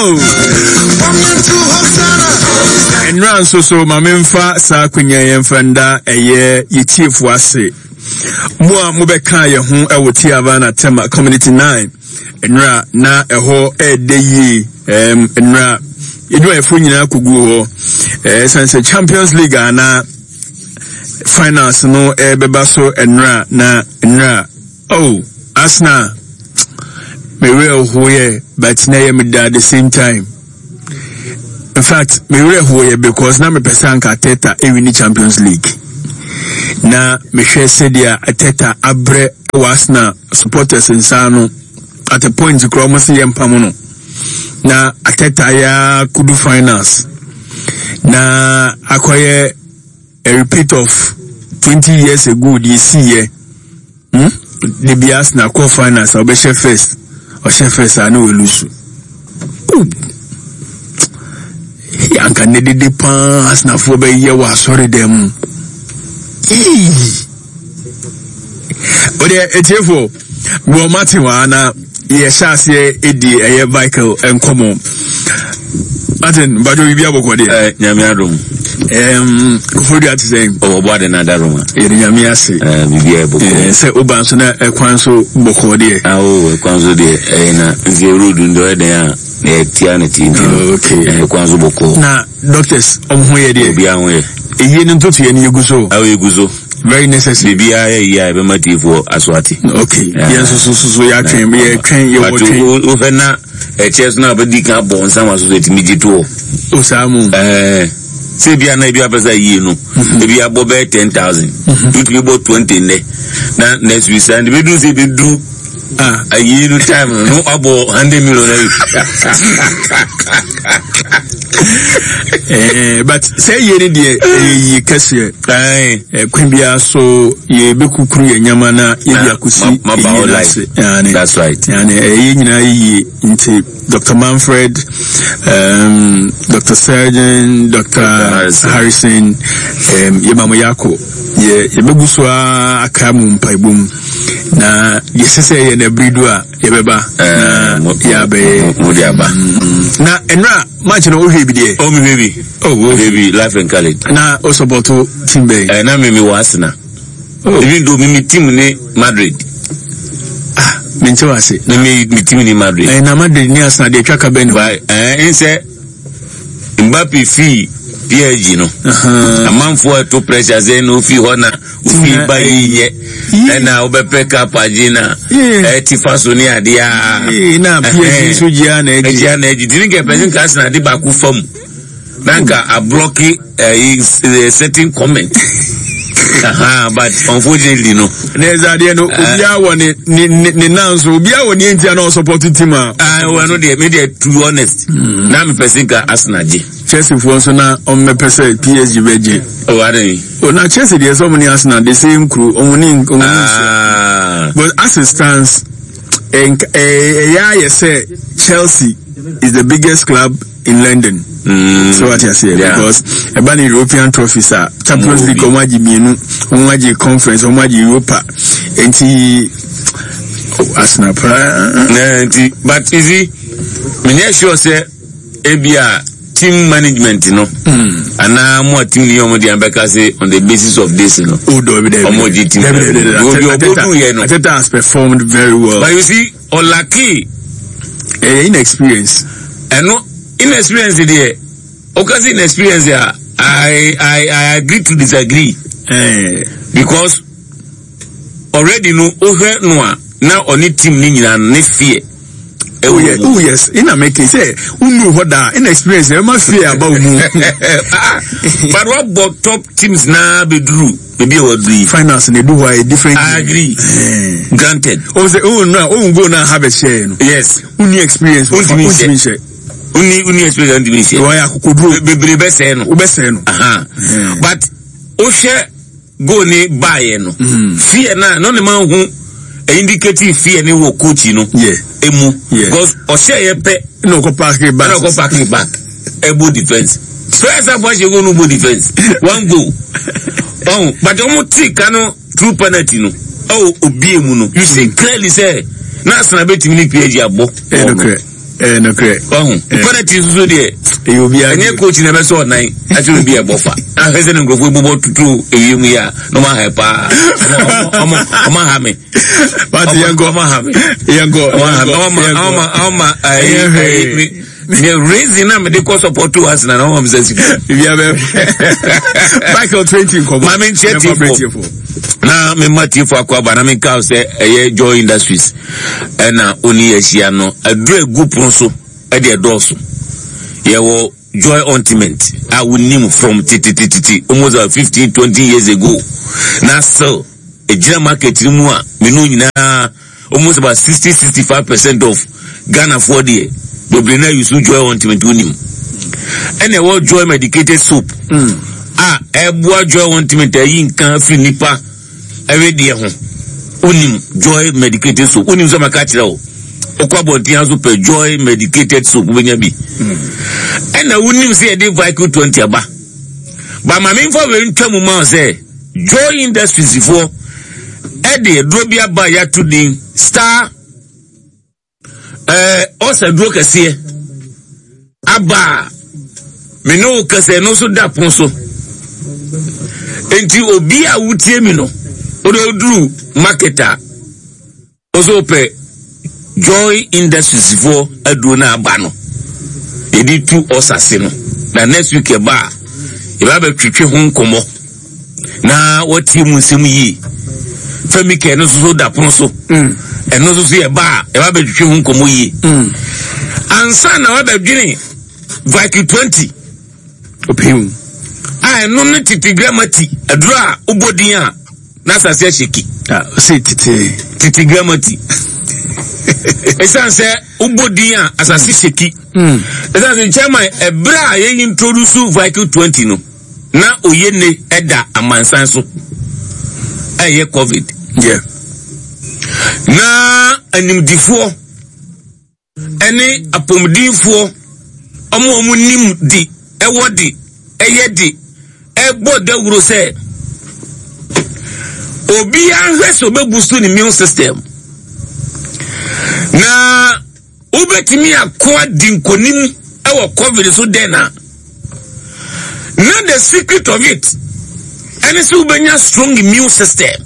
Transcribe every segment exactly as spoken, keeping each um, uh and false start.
Oh, nnura nso so ma memfa saa akonnwa yɛmfa nda ɛyɛ yɛtiefo ase, mo a mobɛka yɛn ho ɛwɔ Tiavana Tema Community nine nnura na ɛhɔ ɛɛdɛ yie. ɛm nnura edwumayɛfoɔ nyinaa kogu hɔ ɛɛ san sɛ Champions League a na finals no ɛbɛba so nnura na nnura. Oh, Arsenal, me werɛ hoyɛ, but na ɛyɛ me da at the same time. In fact, me werɛ hoyɛ because na mepɛ sɛ anka Arteta ewin Champions League, na mehwɛ sɛdeɛ Arteta abrɛ wɔ Arsenal supporters nsa no. At a point koraa wɔn sɛ yɛ mpam no, na Arteta yɛ kudu finals na akɔyɛ a repeat of twenty years ago deɛ esi yɛ hmm de bi Arsenal kɔ finals a, ɔbɛhyɛ first, ɔhyɛ first a na wɔlose. Oh, anka ne dede paa Arsenalfoɔ bɛyɛ wɔ asɔre dɛm mu. Ɔdeɛ etiefoɔ wɔ Martin wɔ ha na yɛhyɛ aseɛ edi ɛyɛ Michael nkɔmɔ. Martin Badwo, biribi abɔkɔ deɛ? Ɛ Nyame adom. ɛɛm Koforidua te sɛn? Ɔwɔ bɔ ade na adaroma. Yɛde Nyame ase. Ɛ biribi a ɛbɔkɔ. Ɛɛ sɛ woba nso na ɛkwan so bɔkɔ deɛ? Awo, ɛkwan so deɛ ɛyɛ, na nti road ndɔ ɛyɛ dɛn a na yɛtia ne ti nti no. Okay. Ɛkwan so bɔkɔ. Na doctors ɔmo ho yɛ deɛ? Obiara ho yɛ. Eyie no ntotoeɛ no yɛgu so? Awo, yɛgu so. Very necessary. Biribiara yɛ yie a yɛbɛma tiefoɔ aso ate. Okay, yɛn nso so so so yɛatwɛn, yɛtwɛn, yɛwɔ But twɛn. wohwɛ na ɛkyɛ so na wobɛdi kan abɔ nsa ma so so ɛtumi gye toɔ. O, saa mu? Ɛɛ sɛ ebi ana ebi apɛ sɛ yie no, ebi abɔ bɛyɛ ten thousand, wotumi bɔ twenty nnɛ na next week saa nti bɛduru sɛ ebɛduru ah ayie no time no no abɔ hundred million ayi. Eh, but sɛ yie no deɛ, ɛyɛ yie kɛseɛ. Ɛɛ Eh, kwan biara so yɛbɛkukuru yɛ nyama na yɛde Na, akɔsi ma- ma ba yie wo no life. ase. Ane. That's right. Ane, ɛyɛ nyinaa yɛ yie nti Doctor Manfred, um, Doctor Surgeon, Doctor Harrison. Harrison, um, yɛma mo yɛakɔ, yɛ yɛbɛgu so a aka mu mpaebɔ mu na yɛsɛ sɛ yɛ no abiri du a yɛbɛba na mo- yɛabɛyɛ. mo de aba. Na ɛnora match no, wohwɛ bi deɛ? Oh, mi hwɛ bi. Oh, hwɛ bi live and colored. Na o support team bɛn? Ɛɛ na mi mi wɔ Arsenal. Oh. Even though mi mi team ne Madrid. Ah, menkyɛ wɔ ase. Mi mi mi team ne Madrid. Ɛɛ na Madrid ne Arsenal deɛ, atwa ka bɛn ne hɔ? But ɛɛ nsɛ Mbappe fi P S G no, amanfoɔ ɛto pressure sɛ na ofi hɔ na ofi ba yi nyɛ ɛna wobɛpɛ cup agye na ɛti fa so ne adeɛ a. Ee, na P S G nso gyia na agye. Ɛgyia na agye tini nka ɛpɛ sɛ nka Arsenal de baako fam na nka ablock ɛyi certain comment. Aha, but unfortunately no. Na ɛsɛ adeɛ no, obiara wɔ ne ne ne ne nan so, obiara wɔ ne nti a na ɔsupport team a. Ah, well, no deɛ, me deɛ, to be honest, na mepɛ sɛ nka Arsenal gye. Chelsea foɔ nso na ɔmmɛpɛ sɛ P S G bɛgye. Oh, ade. O, na Chelsea deɛ, sɛ ɔmo ne Arsenal the same crew, ɔmo ne ɔmo ne nhyia. Ah. But as it stands, ɛnk- ɛɛ, ɛyɛ ayɛ sɛ Chelsea is the biggest club in London. Mm. So what you say? Yeah. Because ɛba ne European trophies a, Champions Ɔmo League bi. ɔmo agye mmienu, ɔmo agye Conference, ɔmo agye Europa. Nti oh, Arsenal paa. Na nti, but you see, menyɛ sure sɛ ebi a team management no anaa mo a team ni ɔmo deɛ bɛka sɛ on the basis of this no. Oh, dɔbi dɛbi. Ɔmo gye team. Dɛbi dɛbi dɛbi. Obi ɔbɔ du yɛ no. Arteta has performed very well. But you see, ɔlack. Ɛyɛ inexperience. Ɛno inexperience deɛ, ɔka sɛ inexperience a, I I I agree to disagree. Ɛɛ Because already no, wohwɛ no a, na ɔne team ne nyinaa no ne fear. Oh yes, oh yes. Ina make sɛ unu hɔ da inexperience ɛma fear aba wo mu. But wabɔ top teams naa bɛduru baabi a waduru yi. Finals na edu hɔ a, yɛ different. I agree. Ɛɛ. Granted. O sɛ o nura o goal na ha bɛ hyɛ no. Yes. Wonni experience. Wontumi nhyɛ. Wontumi nhyɛ. Woni woni experience, ntumi nhyɛ. Wɔyɛ akokoduro. Be- bebree bɛsɛɛ no. Wobɛsɛɛ no. Aha. Mm. But wohwɛ goal ne baayɛ no, fear na na ɔne ma hu indicative fear ne wɔ coach no Yeah. emu. Yeah. Because ɔhyɛ yɛ pɛ, ɛna ɔkɔ park back. Ɛna ɔkɔ parking back ɛbɔ defence. First half ahyɛ goal no, bɔ defence one goal ɔn, but ɔmo ti ka no through penalty no ɛwɔ obie mu no, you see clearly sɛ na Arsenal bɛtumi ne P S G abɔ. Ɛyɛ nokorɛ. Eh, nokorɛ. Wahu penalty nso deɛ, ɛyɛ obiara. Ɛnyɛ coach na ɛbɛsɛ ɔnan akyerɛ obi a ɛbɔ fa ahwɛ sɛ ne nkurɔfoɔ bobɔ tutu ewiem yi a, na ɔmo aha paa, ɔmo ɔmo ɔmo aha me. Pati, yɛnkɔ. Ɔmo aha me. Yɛnkɔ. Ɔmo aha me, ɔmo yɛnkɔ. ɔmo ɔmo ɛyi Ɛyɛ hwee. ɛyi me me reason na mede kɔ support to Arsenal na ɔmo sɛ sika. Biribiara bɛ Michael twenty nkɔmɔ. Maame, nkyɛn. Yɛmfa tiefo. tiefo. Na mema tiefo akɔ aba na menka wo sɛ ɛyɛ Joy Industries ɛna oni ahyia no. Aduru egu pono so ɛde ɛdɔɔso. Yɛwɔ Joy Ointment a wonim from titititi almost uh, fifteen twenty years ago, na still egyina market no mu a menu nyinaa, almost about sixty sixty five percent of Ghanafoɔ deɛ bebree na use Joy Ointment. Wonim ɛna ɛwɔ Joy Medicated Soap a ɛboa Joy Ointment ayi nka firi nipa ɛwedeɛ ho. Wonim Joy Medicated Soap, wonim sɛ maka kyerɛ wo, wokɔ abɔnten aso pɛ Joy Medicated Soap, wobɛnya bi. Ɛna wonim sɛ yɛde Vicle twenty aba ba. Ma memfa wei ntwa mu ma wo sɛ Joy Industries foɔ ɛde aduro bi aba a yɛato din Star ɛɛ ɔsa duro kɛseɛ aba a me ne wo kɛsɛ no nso da pon so. Nti obi a wotie mi no, wode oduru market a ɔsɛ wopɛ Joy Industries foɔ aduro no aba no, yɛde tu ɔsase no, na next week ɛba a yɛba bɛtwetwe ho nkɔmmɔ na wɔtie mu nsɛm yie. Fɛmikɛ no nso so da pono so, ɛno nso so yɛba a yɛba bɛtwetwe ho nkɔmmɔ yie ansa na wabɛdwene Vicle twenty Opim. A ɛno ne tete gramati aduro a wobɔ din a na asase ahyɛki. Ah, ɔsɛ tete. Tete gramati, ɛsiane sɛ wobɔ din a asase hyɛki, ɛsiane sɛ chairman, ɛberɛ a yɛyi introduce Vicle twenty no, na oye ne ɛda amansan so ɛyɛ COVID. Yeah. Na animdifoɔ ɛne apɔmudinfoɔ, ɔmo a ɔmo nim di ɛwɔ di ɛyɛ di ɛbɔ dawuro sɛ obiara hwɛ sɛ ɔbɛboost ne immune system na wobɛtumi ako adi nkonim ɛwɔ COVID so. Dɛn na na the secret of it ɛne sɛ wobɛnya strong immune system.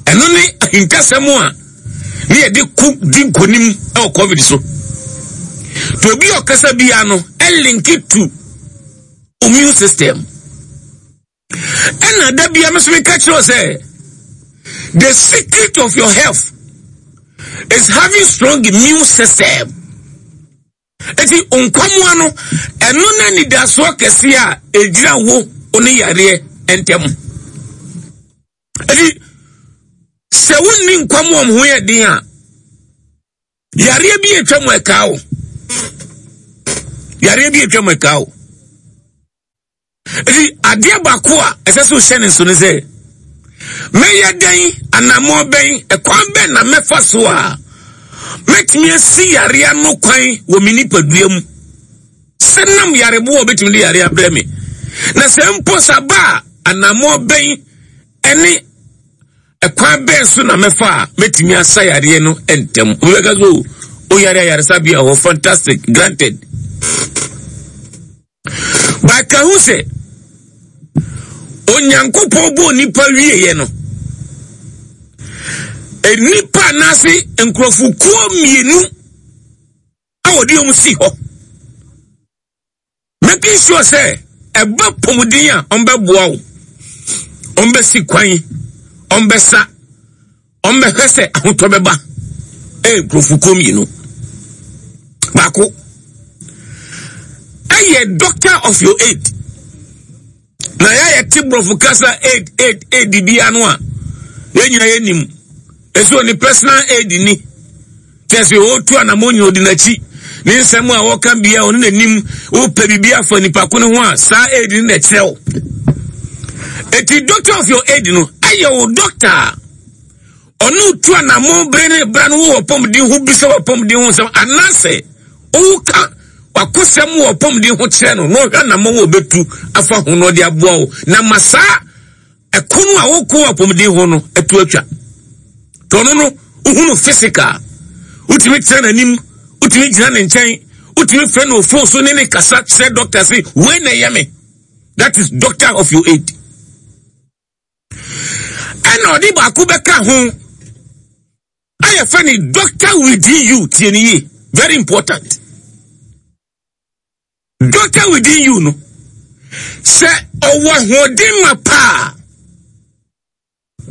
Ɛno ne ahintasɛm a ne yɛde ko di nkonim ɛwɔ COVID so. To obi a ɔkasa bia no ɛlink to immune system. Ɛna da bia me so meka kyerɛ wo sɛ the secret of your health is having strong immune system. Eti nkwamoa no, ɛno na nidasoɔ kɛseɛ a ɛgyina wo wo ne yareɛ ntɛm. Eti sɛ wonni nkwamoa mo ho yɛ den a, yareɛ bi atwa mu ɛka wo, yareɛ bi atwa mu ɛka wo. Eti adeɛ baako a ɛsɛ sɛ wohyɛ ne nso ne sɛ mɛyɛ dɛn, anammɔ bɛn, ɛkwan bɛn na mɛfa so a mɛtumi asi yareɛ no kwan wɔ me nipadua mu, sɛ nam yareboɔ a obɛtumi de yareɛ abrɛ me, na sɛ mpo saba a, anammɔ bɛn ɛne ɛkwan bɛn so na mɛfa a mɛtumi asa yareɛ no ntɛm? Obi bɛka so o yare ayaresabea hɔ, fantastic, granted, baka ho sɛ Onyankopɔn bɔɔ nipa wieɛ no, nipa anaase nkurɔfokuo mmienu a wɔde wɔn si hɔ making sure sɛ ɛba pɔmuden a ɔmbɛboa wo, ɔmbɛsi kwan, ɔmbɛsa, ɔmbɛhwɛ sɛ ahotɔ bɛba, ɛyɛ nkurɔfokuo mmienu. Baako ɛyɛ doctor of your aid. Na yɛayɛ te borɔfo kasa aid, aid, aid bia no a yɛn nyinaa yɛnim ɛsɛ ɔne personal aid ni kyɛ sɛ ɔtu anammɔ nyina ɔdi n'akyi ne nsɛm a wɔka bia ɔne n'anim wopɛ biribi afa nipa ko no ho a, saa aid no na ɛkyerɛ wo. Eti doctor of your aid no ɛyɛ wo doctor a ɔne tu anammɔ bere ne bra no wowɔ pɔmuden ho, bisa wɔ pɔmuden ho nsɛm anaasɛ woka wakosɛm wɔ pɔmuden ho kyerɛ no, na ɔhwɛ anammɔ wɔ bɛtu afa ho na ɔde aboa wo na ma saa ɛko no a wokɔ wɔ apɔmuden ho no ɛto atwa. Tɔno no wohunu physical, Wotumi tena n'anim, wotumi gyina ne nkyɛn, wotumi frɛ no phone so ne ne kasa kyerɛ doctor sɛ wei na ɛyɛ me. That is doctor of your aid. Ɛna ɔde baako bɛka ho a yɛfrɛ ne doctor within you. Tie ne yie, very important. Doctor within you no, sɛ ɔwɔ ahoɔden ma paa,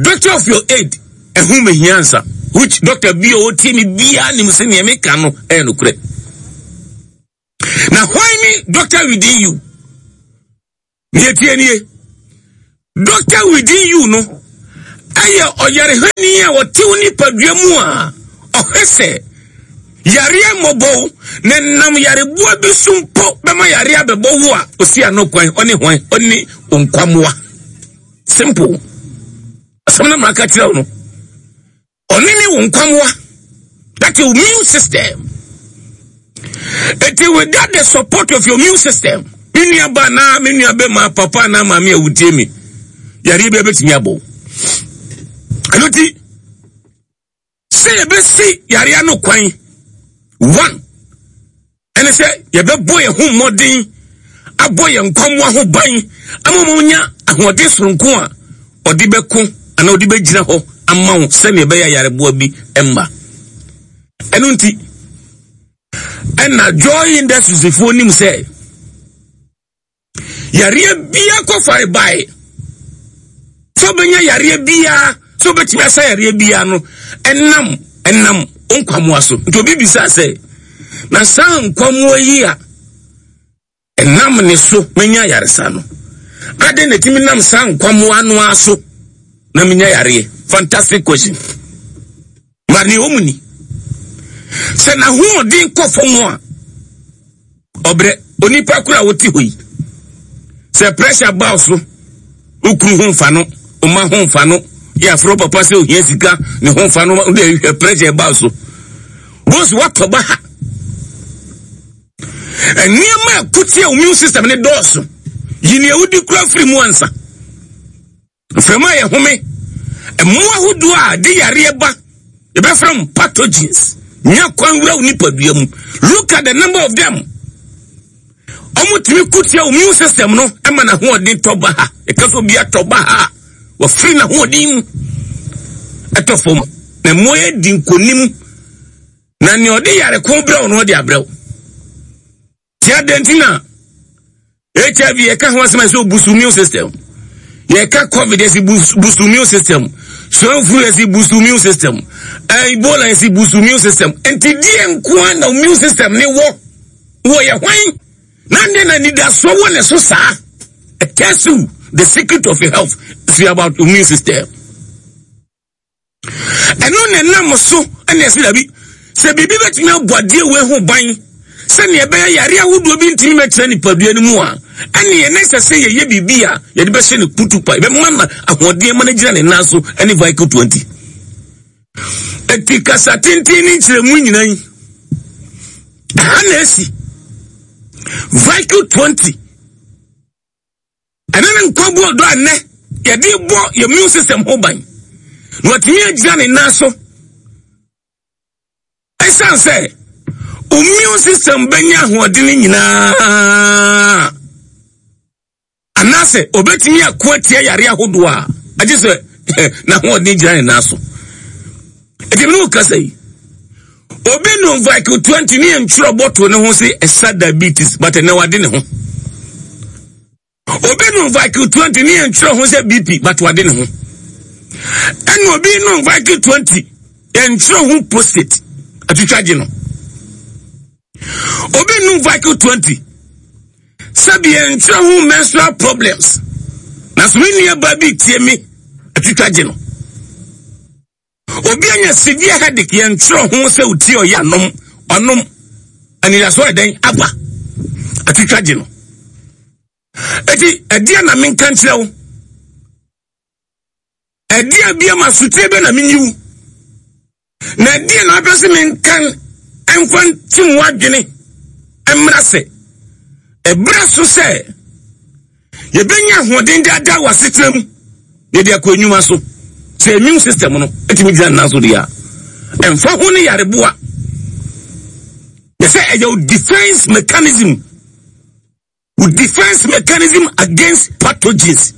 doctor of your aid ɛho mehia nsa, which doctor bi a ɔtie mi biara nim sɛ nea meka no ɛyɛ nokorɛ. Na hwan ne doctor within you? Nea tie nie, doctor within you no ɛyɛ ɔyarehwɛni a wɔte wo nipadua mu a ɔhwɛ sɛ yareɛ mmɔbɔ na nam yareboa bi so mpo bɛma yareɛ abɛbɔ wo a, osi ano kwan. Ɔne hwan? Ɔne nkwammoa. Simple asɛm na maka kyerɛ wo no. Ɔne ne wo nkwammoa, that your immune system. Eti without the support of your immune system, me nua ba na me nua bɛ ma papa na maame a wotie mi, yareɛ bi abɛtumi abɔ. Ɛno ti sɛ yɛbɛsi yareɛ no kwan, one, ɛne sɛ yɛbɛbɔ yɛn ho mmɔden abɔ yɛn nkwammoa ho ban ama wɔn nya ahoɔden soronko a ɔde bɛko anaa ɔde bɛgyina hɔ ama wo sɛnea ɛbɛyɛ yareboa bi mma. Ɛno nti ɛna Joy Industries foɔ nim sɛ yareɛ bia kɔfare bae sɛ wobɛnya yareɛ biara, sɛ wobɛtumi asa yareɛ biara no, ɛnam ɛnam nkwamoa so. Nti obi bisa sɛ, na saa nkwamoa yi a ɛnam ne so menya yaresa no, adɛn na ɛtumi nam saa nkwamoa no ara so na menya yareɛ? Fantastic question. Ma nea ɔmu ni sɛ n'ahoɔden kɔ fam a, ɔbrɛ. Onipa koro a wote hɔ yi, sɛ pressure ba wo so, wokuru ho mfa no, ɔma ho mfa no, yɛ aforo papa sɛ ohia sika ne ho mfa no, wode hwɛ pressure ba wo so, bosi watɔ ba ha. Nneɛma a ɛko immune system ne dɔɔso. Yi nea wodi kura firi mu ansa. Mframa a yɛhome, mmoa ahodoɔ a de yareɛ ba, yɛbɛfrɛ m pathogens, nya kwan wura wo nipadua mu. Look at the number of them. Ɔmo tumi kutia immune system no ɛma n'ahoɔden tɔ ba ha. Ɛka so obi atɔ ba ha, wɔfiri n'ahoɔden mu ɛtɔ fam na mmoa yɛ di nkonim na nea ɔde yare ko brɛw no, ɔde abrɛw. Tia den ti na H I V yɛka ho asɛm a sɛ boost immune system, yɛka COVID yɛsi boost immune system, swine flu yɛsi boost immune system, Ebola yɛsi boost immune system. Nti deɛ nkoa na immune system ne wɔ wɔ yɛ hwan na ne na nidasoɔ wɔ ne so saa? It tells you the secret of your health is about immune system. Ɛno na ɛnam so ɛna ɛsɛ dabi sɛ biribi bɛtumi abɔ adeɛ wei ho ban sɛnea ɛbɛyɛ yare ahodoɔ bi ntumi mɛtena nipadua no mu a, ɛne yɛn ɛsɛ sɛ yɛyɛ biribi a yɛde bɛhyɛ ne kutu pa, yɛbɛma na ahoɔden ma no gyina ne nan so, ɛne Vicle twenty. Eti kasa tenten ne nkyerɛmu nyinaa yi, ɛha na esi Vicle twenty. Ɛne ne nkwa bu ɔdɔ a nnɛ yɛde bɔ yɛ immune system ho ban na watumi agyina ne nan so. Ɛsiane sɛ immune system bɛnya ahoɔden nyinaa anaasɛ obɛtumi ako atia yare ahodoɔ a, agye sɛ n'ahoɔden gyina ne nan so. Ɛti mi ne wo kasa yi, obi nom Vicle twenty ne yɛntwerɛ bɔtol ne ho sɛ ɛsa diabetes, but ɛnɛ wade ne ho. Obi nom Vicle twenty ne yɛntwerɛ ho sɛ B P, but wade ne ho. Ɛna obi nom Vicle twenty, yɛntwerɛ ho prostate, atwitwa gye no. Obi nom Vicle twenty, sɛbi, yɛntwerɛ ho menstrual problems, na so me nua ba bi tie me, atwitwa gye no. Obi anya severe headache, yɛntwerɛ ho sɛ otie ɔyɛ anom ɔnom anidasoɔ ɛdɛn aba, atwitwa gye no. Eti ɛdeɛ na menka nkyerɛ wo, ɛdeɛ bia ma sotie bɛ na menyi wo, na ɛdeɛ na apɛ sɛ menka ɛmfa ntim w'adwene mmra sɛ ɛberɛ so sɛ yɛbɛnya ahoɔden daadaa wɔ asetena mu, yɛde akɔ enwuma so sɛ immune system no ɛtumi gyina nnan so deɛ a, ɛmfa ho ne yareboa. Kyɛ sɛ ɛyɛ wo defense mechanism, wo defense mechanism against pathogens.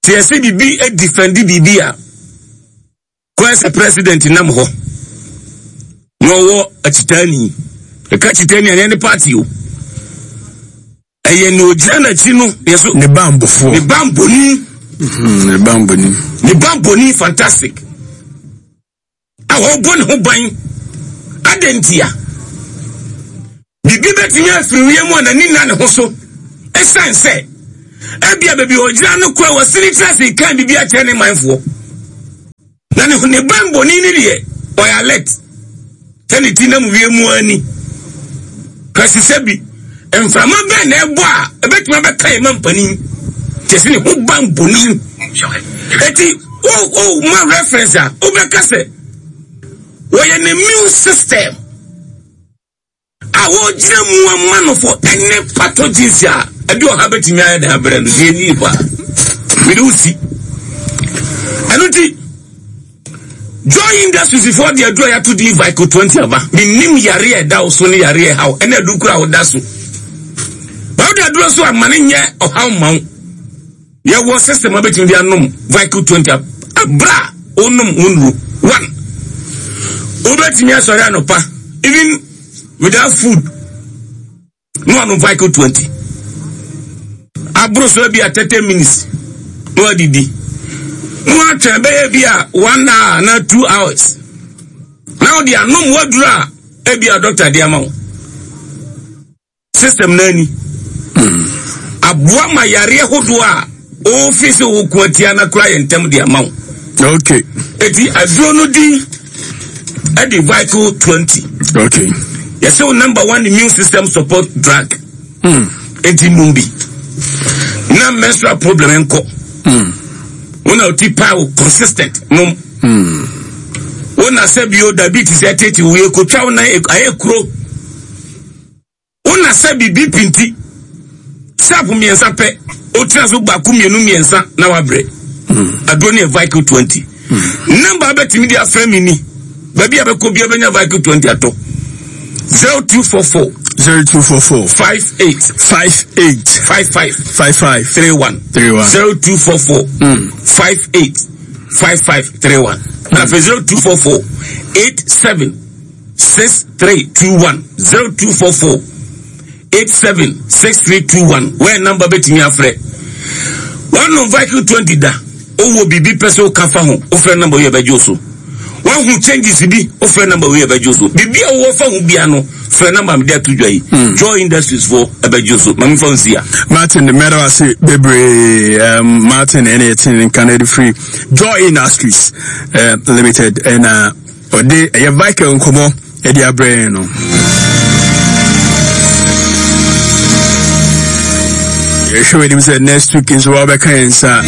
Sɛ yɛsɛ biribi defend biribi a, kɔɛ sɛ president nam hɔ na ɔwɔ akyitaani, ɛka kyitaani a, ɛnyɛ ne party o, ɛyɛ ne ogyina n'akyi no yɛ so. Ne bambɔfoɔ. Ne bambɔni. Mhm, ne bambɔni. Ne bambɔni fantastic a wɔbɔ ne ho ban. Adantia biribi bɛtumi afiri wiem a n'ani nna ne ho so, ɛsiane sɛ ebia baabi a ɔgyina no kora wɔsene tena ase kan biribi akyerɛ ne manfoɔ na ne ne bambɔni ne deɛ ɔyɛ alert sɛ ne ti nam wiem ani kasi sɛ bi mframa bɛn na ɛbɔ a ɛbɛtumi abɛka yɛ ma mpanin kyɛ sɛ ne ho bambɔni. Eti o o ma reference a wobɛka sɛ wɔyɛ ne immune system a wɔgyina mu ama no for any pathogens a ɛde ɔha bɛtumi ayɛ de abrɛ no deɛ ni pa mede wo si. Ɛno nti Joy Industries foɔ de aduru a yɛato din Vico twenty aba. Menim yare a ɛda wo so ne yare a ɛhaw ɛna adu kora a woda so ba wode aduro so ama ne nyɛ ɔhaw ma wo. Yɛwɔ system a bɛtumi de anom Vico twenty abra a wonom wo nnuro one, wobɛtumi asɔre anɔpa even without food na wanom Vico twenty aboro so bi a thirty minutes na wadidi na watwɛn bɛyɛ bi a one hour na two hours na wode anom waduro a ebi a doctor de ama wo. System n'ani aboa ma yareɛ hodoɔ a ofi sɛ woko atia na kora yɛ ntɛm de ama wo. Okay eti aduro no din ɛde Vico twenty. Okay yɛsɛ wo number one immune system support drug. mm. Eti num bi na menstrual problem nkɔ. Mm. Wo na oti paa wo consistent nom. Mm. Wo na sɛ bio diabetes ɛtete wo yɛ kotwa wo nan ayɛ kuro. Wo na sɛ bi B P nti sharp mmiɛnsa pɛ o tena so baako, mmienu, mmiɛnsa na wabrɛ. Aduro no yɛ Vico twenty. Number abɛtumi de afrɛ mi ni, baabi a bɛkɔ bia bɛnya Vico twenty atɔ: zero two four four zero two four four five eight five eight five five five five three one. three one. zero two four four five eight five five three one. Na afei zero two four four eight seven six three two one, zero two four four eight seven six three two one. Wẹ́ẹ̀ number bẹ́tìmí afrɛ wɔn Vico twenty da owó biribi pɛ sɛ ɔka fa ho, wofrɛ number yi, ɛbɛgye o so. Wɔn ho changes bi, wofrɛ number yi, ɛbɛgye o so. Biribi a wɔwɔ fa ho bia no, frɛ number mi de ato dwa yi. Joy Industries foɔ ɛbɛgye o so. Maame fa nsi a. Martin mɛda ase bebree. um, martin ɛne yɛte ne nka no de firi Joy Industries uh, Limited ɛna ɔde ɛyɛ Vico nkɔmmɔ ɛde abrɛ yɛn no. Yɛhwɛ w'anim sɛ next week nso wɔbɛka yɛn nsa.